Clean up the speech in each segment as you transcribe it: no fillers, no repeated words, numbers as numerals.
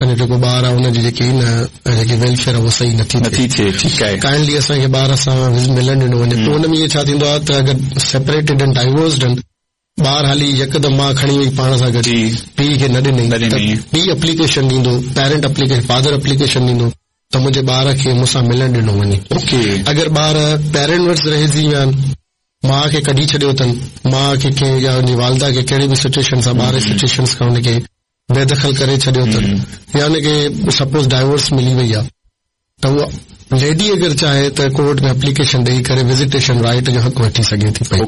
اسان جو جيڪو ٻار آهي ان جي جيڪي نه جيڪي ويلفيئر آهي اها صحيح نٿي نٿي ٿئي ٺيڪ آهي. ڪائنڊلي اسان کي ٻار سان ملڻ ڏنو وڃي پوء ان ۾ ائين ڇا ٿيندو آهي ته اگر سيپريٽيڊ آهن ڊائيورسڊ آهن ٻار هلي يڪدم ماء کڻي وئي پاڻ سان گڏ پيء کي نه ڏنئي ته پيء اپليڪيشن ڏيندو پيرنٽ اپليڪيشن فادر اپليڪيشن ڏيندو ته منهنجي ٻار کي مون سان ملڻ ڏنو وڃي اگر ٻار پيرنٽ وٽ رهجي ويا آهن ماء کي ڪڍي ڇڏيو اٿن ماء کي ڪنهن يا ان جي والده کي ڪهڙي به سچويشن سان ٻار جي سچويشنس کان ان کي بيدخل ڪري ڇڏيو اٿن يا ان کي سپوز ڊائيورس ملي وئي آهي ته اها ليڊي اگر چاهي ته ڪورٽ ۾ اپليڪيشن ڏئي ڪري وزيٽيشن رائيٽ جو حق وٺي سگهي ٿي پئي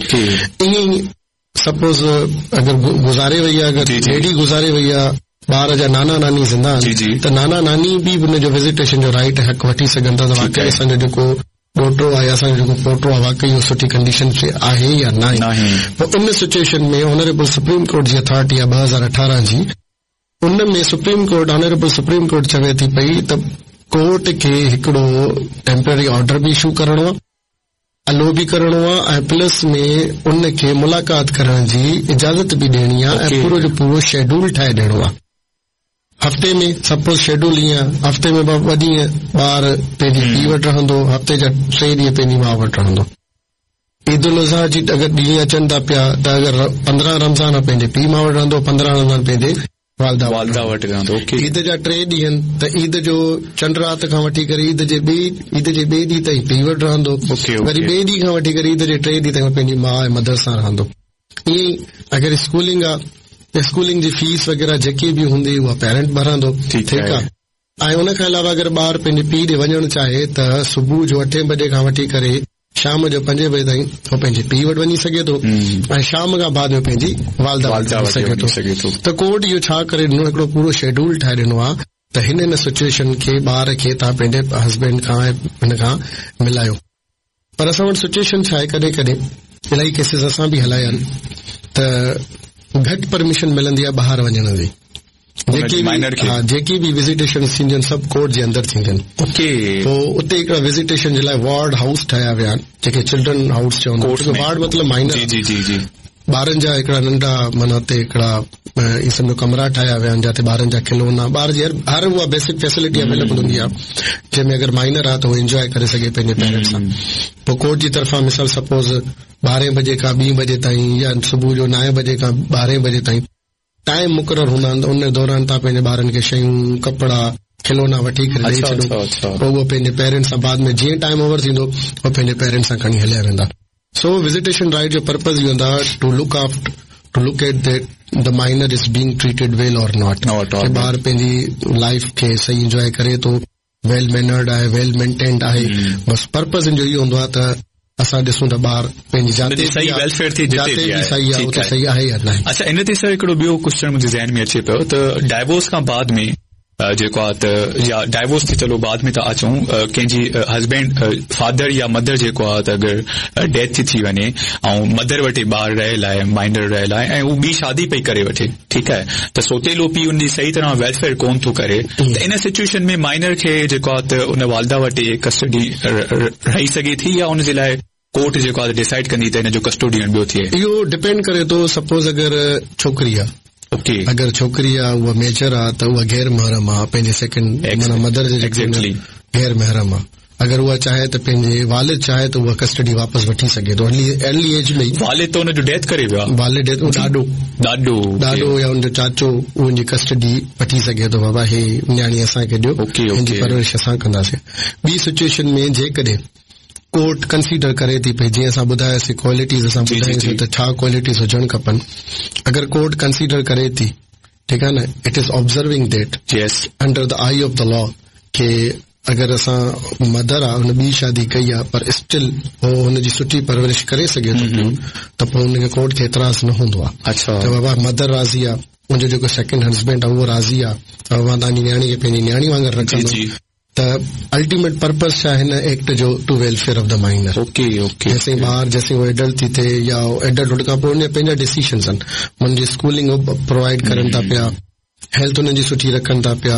ائين ئي سپوز اگر گذاري وئي آهي اگر ليڊي گذاري وئي آهي ٻار جا نانا ناني زنده آهن ته نانا ناني به ان جو وزيٽيشن جو رائيٽ حق وٺي سگهن ٿا ته واقعي اسان جو جيڪو ڏوهٽو آهي يا اسان جو جيڪو پوٽو آهي واقعي اهو سٺي ڪنڊيشن ۾ آهي يا ناهي. پوء ان سچوئيشن ۾ آنريبل سپريم ڪورٽ جي اٿارٽي آهي 2018 جي ان ۾ supreme court honourable supreme court چوي ٿي پئي ته ڪورٽ کي هڪڙو ٽيمپرري آرڊر به اشو ڪرڻو آهي الو به ڪرڻو آهي ۽ پلس ۾ ان کي ملاقات ڪرڻ جي اجازت به ڏيڻي آهي ۽ پورو جو پورو شيڊول ٺاهي ڏيڻو آهي. هفتي ۾ سپوز شيڊول ائين آ هفتي ۾ ٻه ڏينهن ٻار پنهنجي پيء وٽ رهندو هفتي جا ٽي ڏينهن پنهنجي ماء وٽ رهندو. عيد الاضحيٰ جي اگر ڏينهن اچن ٿا پيا ته اگر 15 رمضان پنهنجي پيء ماء وٽ رهندو 15 رمضان پنهنجي والده وٽ رهندو. عيد جا ٽي ڏينهن ته عيد جو چنڊ رات کان وٺي ڪري عيد جي ٻئي عيد جي ٻئي ڏينهن تائين پيء وٽ رهندو وري ٻئي ڏينهن کان وٺي ڪري عيد جي ٽئين ڏينهن تائين پنهنجي ماء ۽ مدر سان رهندو. ائين ئي اگر اسڪولنگ آ ته اسڪولنگ جي فيس وغيره جيڪي به هوندي اها پيرنٽ ڀرندو ٺيڪ آ ۽ ان کان علاوه اگر ٻار پنهنجي پيء ڏي وڃڻ چاهي ته صبح جو اٺين بجي کان وٺي ڪري شام جو پنجين بجي تائين هو پنهنجي پيء وٽ وڃي سگهي ٿو ۽ شام کان بعد ۾ پنهنجي والده وٽ وڃي سگهي ٿو ته ڪورٽ اهو ڇا ڪري ڏنو هڪڙو پورو شيڊول ٺاهي ڏنو آ ته هن هن سچوئيشن کي ٻار کي توهان پنهنجي هسبينڊ کان ۽ هن کان ملايو. پر اسان وٽ سچوئيشن ڇا آهي ڪڏهن ڪڏهن الاهي ڪيسز اسان به هلايا آهن ته گهٽ پرميشن ملندي آهي ٻاهر وڃڻ جي جيڪي به ها جيڪي به وزيٽيشن ٿينديون آهن سڀ ڪورٽ جي اندر ٿينديون آهن پوء اتي هڪڙا وزيٽيشن جي لاء وارڊ هائوس ٺاهيا ويا آهن جيڪي چلڊرن هائوس چوندا آهن وارڊ مطلب مائنر جي جي جي ٻارن جا هڪڙا ننڍا معنيٰ اتي هڪڙا ائين سمجهو ڪمرا ٺاهيا ويا آهن جاتي ٻارن جا کلونا ٻار جي هر اها بيسڪ فيسلٽي اويليبل هوندي آهي جنهن ۾ اگر مائنر آهي ته هو انجواء ڪري سگهي پنهنجي پيرنٽس سان پوء ڪورٽ جي طرفان مثال سپوز ٻارهين بجي کان ٻين بجي تائين يا صبح جو نائين بجي کان ٻارهين بجي تائين ٽائيم مقرر هوندا آهن ته ان دوران توهان پنهنجي ٻارن کي شيون ڪپڙا کلونا وٺي ڪري ڏئي ڇڏو پوء اهو پنهنجي پيرنٽس سان بعد ۾ جيئن ٽائيم اوور ٿيندو هو پنهنجي پيرنٽس سان کڻي هليا ويندا. سو وزيٽيشن رائيٽ جو پرپز اهو هوندو آهي to look after to look at that the minor is being treated well or not ڪي ٻار پنهنجي لائيف کي صحيح انجواء ڪري ٿو ويل مينرڊ آهي ويل مينٽينڊ آهي بس پرپز ان جو اهو هوندو آهي ته اسان ڏسون ته ٻار پنهنجي جاتي صحيح ويلفيئر ٿي جتي به صحيح آهي اتي صحيح آهي يا ناهي. اڇا ان تي سر هڪڙو ٻيو ڪوئسچن منهنجي ذهن ۾ اچي پيو ته ڊائيورس کان بعد ۾ جيڪو آ ته يا ڊائيورس ٿي چلو بعد ۾ ٿا اچون ڪنهن جي هسبينڊ فادر يا مدر جيڪو آ ته اگر ڊيٿ ٿي ٿي وڃي ۽ مدر وٽ ٻار رهيل آهي مائنر رهيل آهي ۽ هو ٻي شادي پئي ڪري وٺي ٺيڪ آهي ته سوتيلو پيء ان جي صحيح طرح ويلفيئر ڪون ٿو ڪري ته ان سچوئيشن ۾ مائنر کي جيڪو آ ته ان والده وٽ ڪسٽڊي رهي سگهي ٿي يا ان جي لاء ڪورٽ جيڪو آهي ڊيسائيڊ ڪندي ته هن جو ڪسٽوڊين ٻيو ٿئي. اهو ڊپينڊ ڪري ٿو سپوز اگر ڇوڪري آ اوڪي اگر ڇوڪري آ اها ميجر آ ته اها غير محرم آ پنهنجي سيڪنڊ معنيٰ مدر جي ايگزيڪٽلي غير محرم آ اگر اها چاهي ته پنهنجي والد چاهي ته اها ڪسٽڊي واپس وٺي سگهي ٿو ارلي ارلي ايج ۾ ئي والد ته ان جو ڊيٿ ڪري ويو آ والد ڊيٿ ڏاڏو ڏاڏو ڏاڏو يا ان جو چاچو ان جي ڪسٽڊي وٺي سگهي ٿو بابا هي نياڻي اسان کي ڏيو اوڪي هن جي پرورش اسان ڪنداسين ٻي سچوئيشن ۾ جيڪڏهن ڪورٽ ڪنسيڊر ڪري ٿي پئي جيئن اسان ٻڌاياسين ڪوالٽيز اسان ٻڌاياسين ته ڇا ڪوالٽيز هجڻ کپن اگر ڪورٽ ڪنسيڊر ڪري ٿي ٺيڪ آهي نه it is observing that under the eye of the law ڪي اگر اسان مدر آ ان ٻي شادي ڪئي آ پر اسٽل هو هن جي سٺي پرورش ڪري سگهي ٿو پيو ته پوء ان کي ڪورٽ کي اعتراض نه هوندو آ ته بابا مدر راضي آ منهنجو جيڪو سيڪنڊ هسبينڊ آ اهو راضي آ ته بابا توهان جي نياڻي کي پنهنجي نياڻي وانگر رکندو ته الٽيميٽ پرپز ڇا هن ايڪٽ جو to welfare of the minor okay okay جيسين ٻار جيسين هو ايڊلٽ ٿي ٿئي يا ايڊلٽ هن کان پوء ان جا پنهنجا ڊسيشنز آهن انهن جي اسڪولنگ هو پرووائيڊ ڪرن ٿا پيا هيلٿ انهن جي سٺي رکن ٿا پيا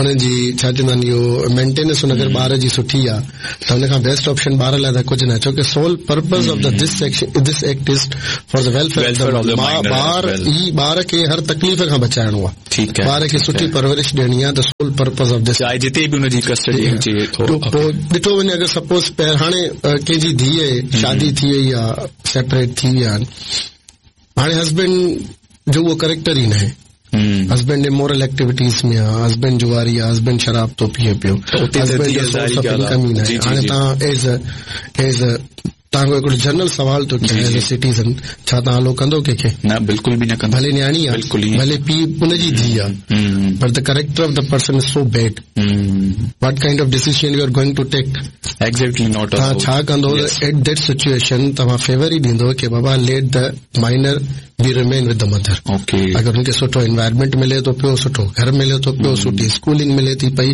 ان جي ڇا چوندا آهن اهو مينٽيننس اگر ٻار جي سٺي آهي ته ان کان بيسٽ آپشن ٻار لاء ته ڪجهه ناهي ڇو ڪي sole purpose of the this section this act is for the welfare of the ٻار ئي ٻار کي هر تڪليف کان بچائڻو آهي ٺيڪ آهي ٻار کي سٺي پرورش ڏيڻي آهي ته سول پرپز آف this چاهي جتي به ان جي ڪسٽڊي هجي پوء ڏٺو وڃي اگر سپوز هاڻي ڪنهن جي ڌيء شادي ٿي وئي آهي سيپريٽ ٿي ويا آهن هاڻي هسبينڊ جو اهو ڪريڪٽر ئي ناهي هسبينڊ امورل ايڪٽيوٽيز ۾ آ هسبينڊ جواري آ هسبينڊ شراب ٿو پيئي پيو هسبينڊ جو سورس آف انڪم ئي ناهي هاڻي توهان ايز ايز توهان کان هڪڙو جنرل سوال ٿو ڪيان ايز اي سٽيزن ڇا توهان الو ڪندو ڪنهن کي نه بلڪل به نه ڪندو ڀلي نياڻي آ ڀلي پيء ان جي ڌيء آ پر the character of the person is so bad what kind of decision you are going to take exactly not توهان ڇا ڪندو ايٽ that situation توهان فيور ئي ڏيندو ڪي بابا let the minor be remain with the mother okay اگر ان کي سٺو انوائرمينٽ ملي ٿو پيو سٺو گهر ملي ٿو پيو سٺي اسڪولنگ ملي ٿي پئي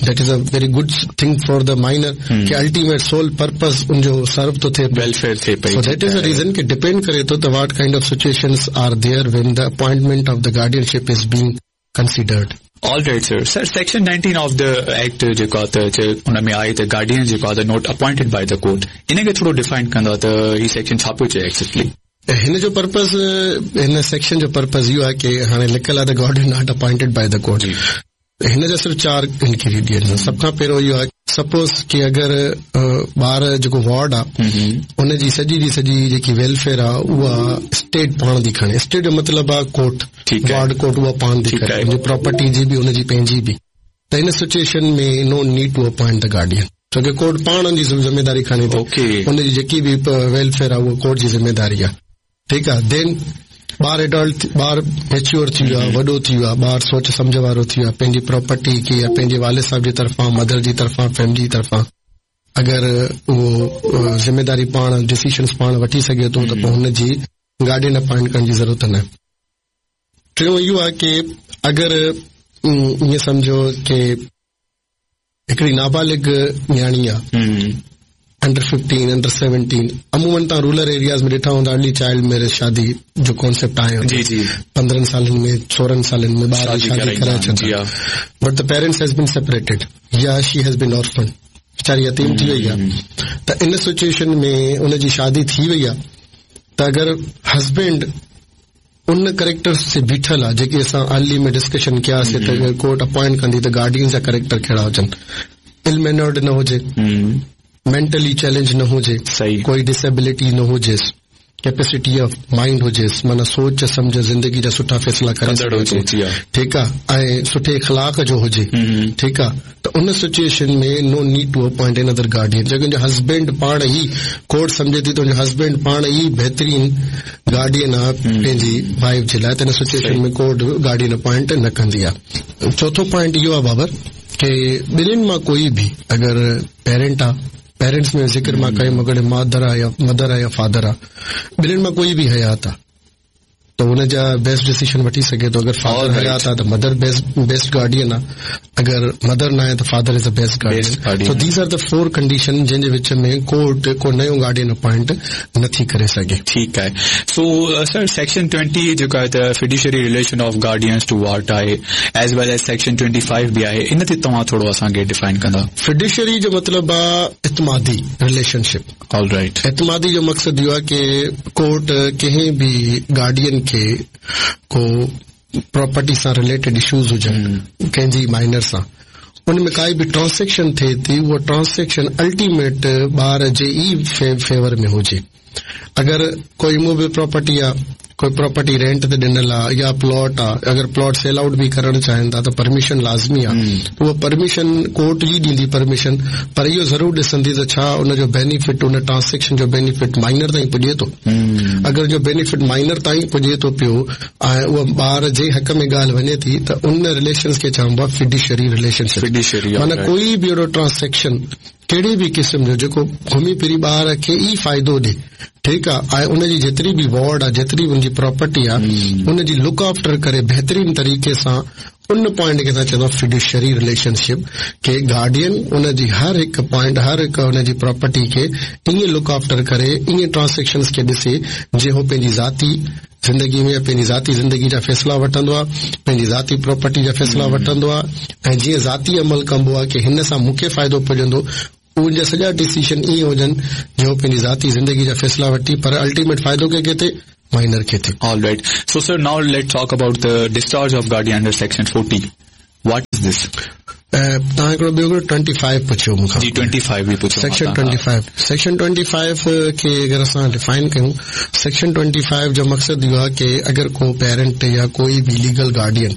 that is a very good thing for the minor ڪي الٽيميٽ سول پرپز ان جو سرو ٿو ٿئي ويلفيئر ٿئي پئي سو that is a reason ڪي ڊپينڊ ڪري ٿو ته what kind of situations are there when the appointment of the guardianship is being considered. All right sir sir section 19 of the act جيڪو آهي ته ان ۾ آهي ته گارڊين جيڪو آهي ته not appointed by the court ان کي ٿورو ڊيفائن ڪندا ته هي سيڪشن ڇا پيو چئي ايگزيڪٽلي. هن جو پرپز هن سيڪشن جو پرپز اهو آهي ڪي هاڻي لکيل آهي ته guardian not appointed by the court هن جا صرف چار انگريڊينٽس آهن سڀ کان پهريون اهو آهي سپوز ڪي اگر ٻار جيڪو وارڊ آ ان جي سڄي جي سڄي جيڪي ويلفيئر آ اها اسٽيٽ پاڻ ٿي کڻي اسٽيٽ جو مطلب آ ڪورٽ وارڊ ڪورٽ اها پاڻ ٿي کڻي ان جي پراپرٽي جي به ان جي پنهنجي به ته ان situation ۾ no need to appoint the guardian ڇو ڪي ڪورٽ پاڻ ان جي ذميداري کڻي ٿي ان جي جيڪي به ويلفيئر آ اها ڪورٽ جي ذميداري آ ٺيڪ آ دين ٻار ايڊلٽ ٻار ميچيور ٿي ويو آ وڏو ٿي ويو آ ٻار سوچ سمجهه وارو ٿي ويو آ پنهنجي پراپرٽي کي يا پنهنجي والد صاحب جي طرفان مدر جي طرفان فيملي جي طرفان اگر اهو ذميداري پاڻ ڊسيشنز پاڻ وٺي سگهي ٿو ته پوء هن جي گارڊين اپائنٽ ڪرڻ جي ضرورت نه ٽيون اهو آ ڪي اگر ائين سمجهو ڪي هڪڙي نابالغ نياڻي آ انڊر 15 انڊر 17 عمومن توهان رورل ايرياز ۾ ڏٺا هوندا ارلي چائلڊ ميرج شادي جو ڪانسيپٽ آهي جي جي 15 سالن ۾ 16 سالن ۾ ٻار جي شادي ڪرائي ڇڏيندا but the parents has been separated يا شي هيز بين اورفن ويچاري يتيم ٿي وئي آ ته ان سچويشن ۾ ان جي شادي ٿي وئي آ ته اگر هسبينڊ ان ڪريڪٽرز تي بيٺل آ جيڪي اسان ارلي ۾ ڊسڪشن ڪياسي ته اگر ڪورٽ اپوائنٽ ڪندي ته گارڊينز جا ڪريڪٽر ڪهڙا هجن ال مينرڊ نه هجي مينٽلي چئلينج نه هجي ڪوئي ڊسيبلٽي نه هجيس ڪيپيسٽي آف مائنڊ هجيس معنيٰ سوچ سمجهه زندگي جا سٺا فيصلا ڪري سگهي ٿو ٺيڪ آ ۽ سٺي اخلاق جو هجي ٺيڪ آ ته ان situation ۾ no need to appoint another guardian جيڪڏهن ان جو هسبينڊ پاڻ ئي ڪورٽ سمجهي ٿي ته ان جو هسبينڊ پاڻ ئي بهترين گارڊين آ پنهنجي وائيف جي لاء ته ان سچويشن ۾ ڪورٽ گارڊين اپوائنٽ نه ڪندي آ. چوٿون پوائنٽ اهو آ بابر ڪي ٻنهين مان ڪوئي به اگر پيرنٽ آ پيرنٽس ۾ ذڪر مان ڪيم اگر مادر آ يا مدر آ يا فادر آ ٻنهين مان ڪوئي به حيات آ ته ان جا بيسٽ ڊسيشن وٺي سگهي ٿو اگر فادر حيات آ ته مدر بيسٽ گارڊين آ اگر مدر ناهي ته father is the best guardian so these are the four condition جنهن جي وچ ۾ ڪورٽ ڪو نيو گارڊين اپوائنٽ نٿي ڪري سگهي. ٺيڪ آهي سو سر سيڪشن 20 جيڪو آهي ته fiduciary relation of guardians to ward آهي as well as section 25 به آهي ان تي توهان ٿورو اسان کي ڊفائن ڪندا. فڊيشري جو مطلب آ اعتمادي رليشن شپ. All right. اعتمادي جو مقصد اهو آهي ڪي ڪورٽ ڪنهن به گارڊين کي ڪو پراپرٽي سان رليٽيڊ اشوز هجن ڪنهن جي مائنر سان ان ۾ ڪائي به ٽرانسيڪشن ٿئي ٿي اها ٽرانسيڪشن الٽيميٽ ٻار جي ئي فيور ۾ هجي اگر ڪو اموويبل پراپرٽي آ ڪوئي پراپرٽي رينٽ تي ڏنل آ يا پلاٽ آ اگر پلاٽ سيل آئوٽ به ڪرڻ چاهين ٿا ته پرميشن لازمي آ اها پرميشن ڪورٽ ئي ڏيندي پرميشن پر اهو ضرور ڏسندي ته ڇا ان جو بينيفٽ ان ٽرانسيڪشن جو بينيفٽ مائنر تائين پڄي ٿو اگر ان جو بينيفٽ مائنر تائين پڄي ٿو پيو ۽ اها ٻار جي حق ۾ ڳالهه وڃي ٿي ته ان رليشنز کي چئبو آ فڊيشري رليشن شپ معنيٰ ڪوئي به اهڙو ٽرانسيڪشن ڪهڙي به قسم جو جيڪو گهمي ڦري ٻار کي ئي فائدو ڏي ٺيڪ آ ۽ ان جي جيتري به وارڊ آ جيتري به ان جي پراپرٽي آ ان جي لڪ آفٽر ڪري بهترين طريقي سان ان پوائنٽ کي اسان چوندا فڊيوشري رليشن شپ ڪي گارڊين ان جي هر هڪ پوائنٽ هر هڪ ان جي پراپرٽي کي ائين لڪ آفٽر ڪري ائين ٽرانسيڪشنز کي ڏسي جي هو پنهنجي ذاتي زندگي ۾ پنهنجي ذاتي زندگي جا فيصلا وٺندو آهي، پنهنجي ذاتي پراپرٽي جا فيصلا وٺندو آهي ۽ جيئن ذاتي عمل ڪبو آهي ڪي هن سان مون کي فائدو پڄندو ان جا سڄا ڊسيشن ائين هجن جو هو پنهنجي ذاتي زندگي جا فيصلا وٺي پر الٽيميٽ فائدو ڪنهن کي ٿئي مائنر کي ٿئي. All right so sir now let's talk about the discharge of guardian under section 40 what is this. توهان هڪڙو ٻيو هڪڙو ٽوئنٽي فائيو پڇيو مون کان. جي ٽوئنٽي فائيو به پڇيو section twenty five section twenty five کي اگر اسان ڊفائن ڪيون سيڪشن ٽوئنٽي فائيو جو مقصد اهو آهي ڪي اگر ڪو پيرنٽ يا ڪوئي به ليگل گارڊين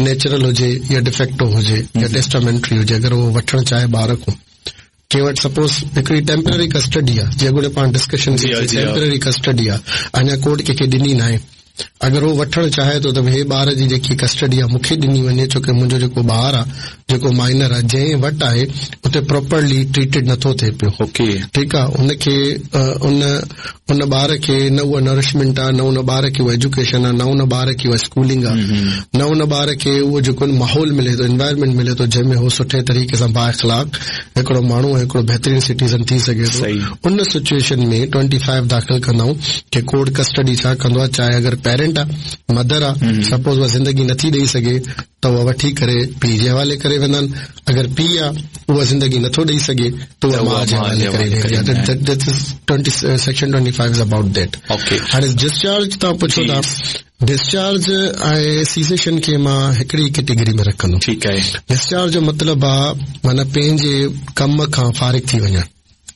نيچرل هجي يا ڊفيڪٽو هجي يا ٽيسٽامينٽري هجي اگر اهو وٺڻ چاهي ٻار کان ڪنهن وٽ سپوز هڪڙي ٽيمپرري ڪسٽڊي آهي جيئن اڳوڻي پاڻ ڊسڪشن ڪئي سي ٽيمپرري ڪسٽڊي آهي اڃا ڪورٽ ڪنهن کي ڏني ناهي اگر هو وٺڻ چاهي ٿو ته هي ٻار جي جيڪي ڪسٽڊي آهي مون کي ڏني وڃي ڇو ڪي منهنجو جيڪو ٻار آهي جيڪو مائنر آهي جنهن وٽ آهي اتي پراپرلي ٽريٽيڊ نٿو ٿئي پيو ٺيڪ آهي ان کي ان ان ٻار کي نه اها نرشمينٽ آهي نه ان ٻار کي اها ايجوڪيشن آهي نه ان ٻار کي اها اسڪولنگ آهي نه ان ٻار کي اهو جيڪو ماحول ملي ٿو انوائرمينٽ ملي ٿو جنهن ۾ هو سٺي طريقي سان بااخلاق هڪڙو ماڻهو ۽ هڪڙو بهترين سٽيزن ٿي سگهي ٿو ان سچوئيشن ۾ ٽوئنٽي فائيو داخل ڪندا آهيون ڪي ڪورٽ ڪسٽڊي ڇا ڪندو آهي چاهي اگر پيرنٽ آهي مدر آهي سپوز اها زندگي نٿي ڏئي سگهي ته اها وٺي ڪري پيء جي حوالي ڪري ويندا آهن اگر پيء آ اها زندگي نٿو ڏئي سگهي ته اها ماء جي حوالي ڪري ويندي آهي سيڪشن 25 is about that هاڻي ڊسچارج توهان پڇو ٿا ڊسچارج ۽ سيسيشن کي مان هڪڙي ئي ڪيٽيگري ۾ رکندم ٺيڪ آهي ڊسچارج جو مطلب آ معنيٰ پنهنجي ڪم کان فارغ ٿي وڃڻ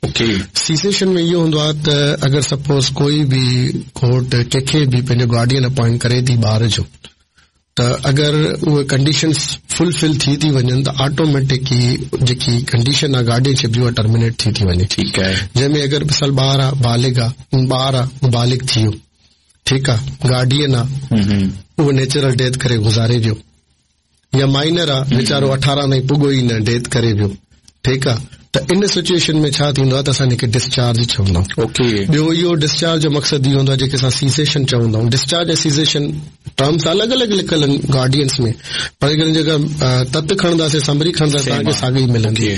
اوڪي سيسيشن ۾ اهو هوندو آ ته اگر سپوز ڪوئي به ڪورٽ ڪنهن کي به پنهنجو گارڊين اپوائنٽ ڪري ٿي ٻار جو ته اگر اهي ڪنڊيشنز فل فل ٿي ٿي وڃن ته آٽوميٽڪ ئي جيڪي ڪنڊيشن آ گارڊين شپ جي اها ٽرمينيٽ ٿي ٿي وڃي ٺيڪ آهي جنهن ۾ اگر مثال ٻار آ بالغ آ ٻار آ بالغ ٿي ويو ٺيڪ آ گارڊين آ اهو نيچرل ڊيٿ ڪري گذاري ويو يا مائنر آ ويچارو 18 تائين پڳو ئي نه ڊيٿ ڪري ويو ٺيڪ آ ته ان سچوئيشن ۾ ڇا ٿيندو آ ته اسان ان کي ڊسچارج چوندا آهيون. اوڪي. ٻيو اهو ڊسچارج جو مقصد اهو هوندو آ جيڪي اسان سيسيشن چوندا آهيون. ڊسچارج ۽ سيسيشن ٽرمس الڳ الڳ لکيل آهن گارڊينس ۾ پر اگر جيڪا تت کڻنداسين سمري کڻنداسين توهان کي ساڳي ئي ملندي.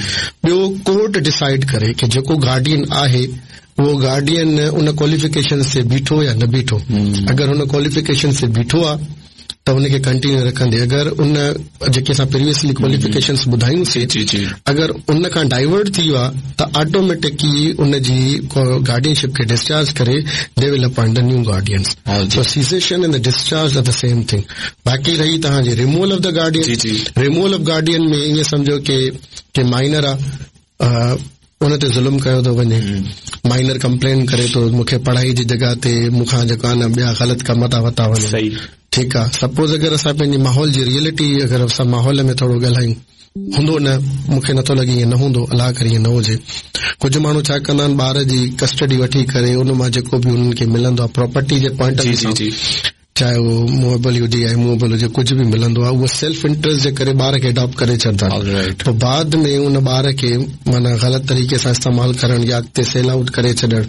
ٻيو ڪورٽ ڊسائيڊ ڪري ڪي جيڪو گارڊين آهي اهو گارڊين ان ڪواليفڪيشنز تي بيٺو يا نه بيٺو. اگر ان ڪواليفڪيشنز تي بيٺو آ ته ان کي ڪنٽينيو رکندي اگر ان جيڪي اسان پريويسلي ڪواليفڪيشنز ٻڌايون سي جي جي اگر ان کان ڊائيورٽ ٿي ويو آ ته آٽوميٽڪ ئي ان جي گارڊين شپ کي ڊسچارج ڪري they will appoint the new guardians so cessation and the discharge are the same thing باقي رهي توهان جي removal of the guardian جي جي ريموول آف گارڊين ۾ ائين سمجهو ڪي ڪي مائنر آ ان تي ظلم ڪيو ٿو وڃي مائنر ڪمپلين ڪري ٿو مون کي پڙهائي جي جڳهه تي مون کان جيڪو آهي نه ٻيا غلط ڪم ٿا ورتا وڃن ٺيڪ آ سپوز اگر اسان پنهنجي ماحول جي ريئلٽي اگر اسان ماحول ۾ ٿورو ڳالهايون هوندو نه مون کي نٿو لڳي ائين نه هوندو الله ڪري ائين نه هجي ڪجهه ماڻهو ڇا ڪندا آهن ٻار جي ڪسٽڊي وٺي ڪري ان مان جيڪو به انهن کي ملندو آهي پراپرٽي جي پوائنٽ آف ويو سان چاهي اهو موويبل هجي يا اموويبل هجي ڪجهه به ملندو آهي اهو سيلف انٽريسٽ جي ڪري ٻار کي اڊاپٽ ڪري ڇڏندا آهن پوء بعد ۾ ان ٻار کي معنيٰ غلط طريقي سان استعمال ڪرڻ يا اڳتي سيل آئوٽ ڪري ڇڏڻ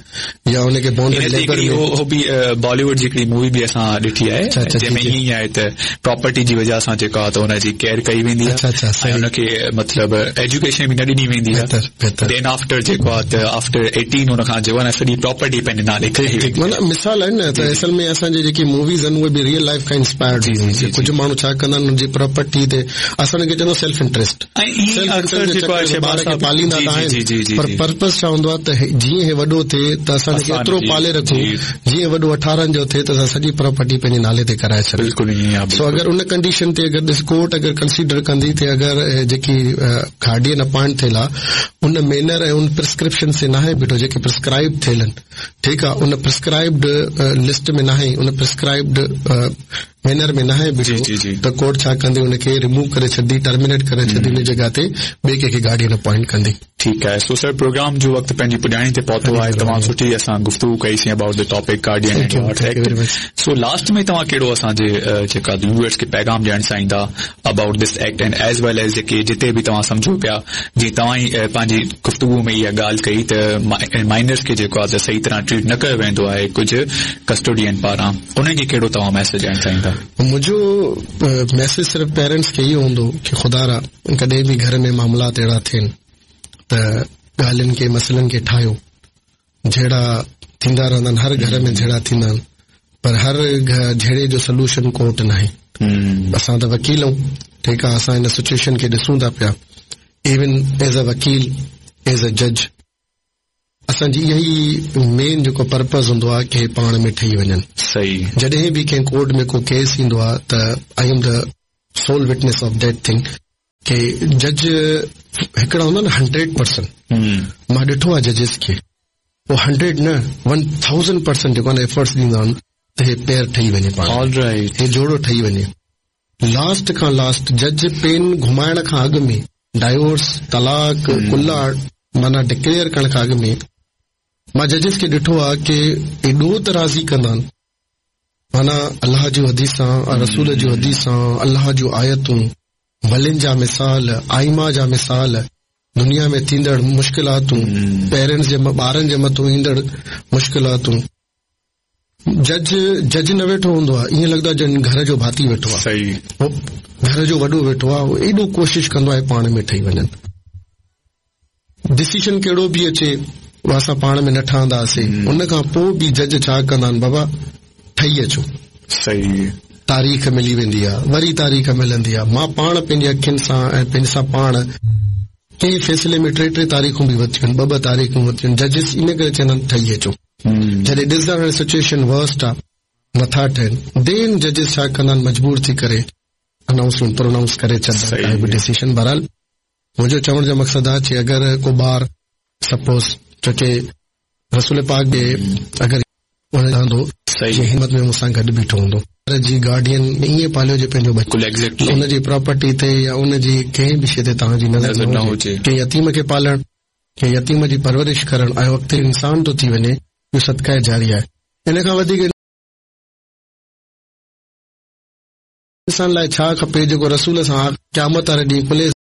يا ان کي بونڊ ليبر ۾ اهو به بالي ووڊ جي هڪڙي مووي به اسان ڏٺي آهي جنهن ۾ ائين ئي آهي ته پراپرٽي جي وجهه سان جيڪا ته ان جي ڪيئر ڪئي ويندي آهي ۽ ان کي مطلب ايجوڪيشن به نه ڏني ويندي آهي دين آفٽر جيڪو آهي ته آفٽر ايٽين ان کان جيڪو آهي سڄي پراپرٽي پنهنجي نالي ڪئي ويندي آهي. معنيٰ مثال آهن نه ته اصل ۾ اسان جي جيڪي موويز آهن اهي به ريئل لائيف کان انسپائرڊ هونديون آهن ڪجهه ماڻهو ڇا ڪندا آهن ان جي پراپرٽي تي اسان ان کي چوندا سيلف انٽريسٽ سيلف انٽريسٽ جي چڪر ۾ ٻار کي پاليندا ته آهن پر پرپز ڇا هوندو آهي ته جيئن هي وڏو ٿئي ته اسان ان کي ايترو پالي رکون جيئن وڏو اٺارهن جو ٿئي ته اسان سڄي پراپرٽي پنهنجي نالي تي ڪرائي ڇڏيون سو اگر ان ڪنڊيشن تي اگر ڏس ڪورٽ اگر ڪنسيڊر ڪندي ته اگر جيڪي گارڊين اپائنٽ ٿيل آ ان مينر ۽ ان پرسڪرپشن تي ناهي بيٺو جيڪي پرسڪرائبڊ ٿيل آهن ٺيڪ آ ان پرسڪرائبڊ لسٽ ۾ ناهي ان پرسڪرائبڊ مينر ۾ ناهي بيٺو ته ڪورٽ ڇا ڪندي ان کي ريموو ڪري ڇڏندي ٽرمينيٽ ڪري ڇڏندي ان جڳهه تي ٻئي ڪنهن کي گارڊين اپوائنٽ ڪندي. ٺيڪ آهي سو سر پروگرام جو وقت پنهنجي پڄاڻي تي پهتو آهي تمام سٺي اسان گفتگو ڪئي سين about the topic guardian and ward act so last ۾ توهان ڪهڙو اسان جي جيڪا ويوئرس کي پيغام ڏيڻ چاهيندا about this act and as well as جيڪي جتي به توهان سمجهو پيا جيئن توهان ئي پنهنجي گفتگو ۾ اها ڳالهه ڪئي ته مائنرز کي جيڪو آهي ته صحيح طرح ٽريٽ نه ڪيو ويندو آهي ڪجهه ڪسٽوڊين پاران انهن کي ڪهڙو توهان ميسيج ڏيڻ چاهيندا؟ منهنجو ميسيج صرف پيرنٽس کي اهو هوندو ڪي خدارا ڪڏهن به گهر ۾ معاملات اهڙا ٿين ته ڳالهين کي مسئلن کي ٺاهيو جهيڙا ٿيندا رهندا آهن هر گهر ۾ جهيڙا ٿيندا آهن. پر هر جهيڙي جو سلوشن ڪورٽ ناهي. اسان ته وڪيل آهيون ٺيڪ آهي اسان هن سچوئيشن کي ڏسون ٿا پيا ايون ايز ا وڪيل ايز ا جج اسان جي اها ئي مين جيڪو پرپز هوندو آهي ڪي پاڻ ۾ ٺهي وڃن. صحيح. جڏهن به ڪنهن ڪورٽ ۾ ڪو ڪيس ايندو آهي ته I am the sole witness of that thing ڪي جج هڪڙا هوندا نه هنڊريڊ پرسنٽ مان ڏٺو آهي ججز کي هو هنڊريڊ نه ون ٿائوزنڊ پرسنٽ جيڪو آهي نه ايفرٽس ڏيندا آهن ته هي پيئر ٺهي وڃي پاڻ ۾ هي جوڙو ٺهي وڃي لاسٽ کان لاسٽ جج پين گهمائڻ کان اڳ ۾ ڊائيورس طلاق خلع معنيٰ ڊڪليئر ڪرڻ کان اڳ ۾ مان ججز کي ڏٺو آهي ڪي ايڏو ته راضي ڪندا آهن معنيٰ الله جون حديثان رسول جون حديثان الله جون آيتون ولين جا مثال ائمه جا مثال دنيا ۾ ٿيندڙ مشڪلاتون پيرنٽس جي ٻارن جي مٿون ايندڙ مشڪلاتون جج جج نه ويٺو هوندو آهي ائين لڳندو آهي ڄڻ گهر جو ڀاتي ويٺو آهي صحيح گهر جو وڏو ويٺو آهي ايڏو ڪوشش ڪندو آهي پاڻ ۾ ٺهي وڃن ڊسيشن ڪهڙو به اچي اسان پاڻ ۾ نه ٺهنداسين ان کان پوء به جج ڇا ڪندا آهن بابا ٺهي اچو صحيح تاريخ ملي ويندي آهي وري تاريخ ملندي آهي مان پاڻ پنهنجي اکين سان ۽ پنهنجي سان پاڻ ڪنهن فيصلي ۾ ٽي ٽي تاريخون به ورتيون آهن ٻه ٻه تاريخون ورتيون آهن ججز ان ڪري چوندا آهن ٺهي اچو جڏهن ڏسندا آهن سچوئيشن ورسٽ آهي نٿا ٺهن دين ججز ڇا ڪندا آهن مجبور ٿي ڪري انائونسمينٽ پرونائونس ڪري ڇڏندا آهن ڪائي به ڊسيشن بهرحال منهنجو چوڻ جو مقصد آهي چي اگر ڪو ٻار سپوز ڇوڪه رسول پاڪ به اگر هوندو جي همت ۾ مون سان گڏ بيٺو هوندو ٻار جي گارڊين ائين پاليو جي پنهنجو ٻچو ان جي پراپرٽي تي يا ان جي ڪنهن به شي تي توهان جي نظر نه هجي ڪنهن يتيم کي پالڻ ڪنهن يتيم جي پرورش ڪرڻ ۽ اڳتي انسان ٿو ٿي وڃي اهو صدقه جاريه آهي ان کان وڌيڪ انسان لاء ڇا کپي جيڪو رسول سان قيامت واري ڏينهن ڪلهي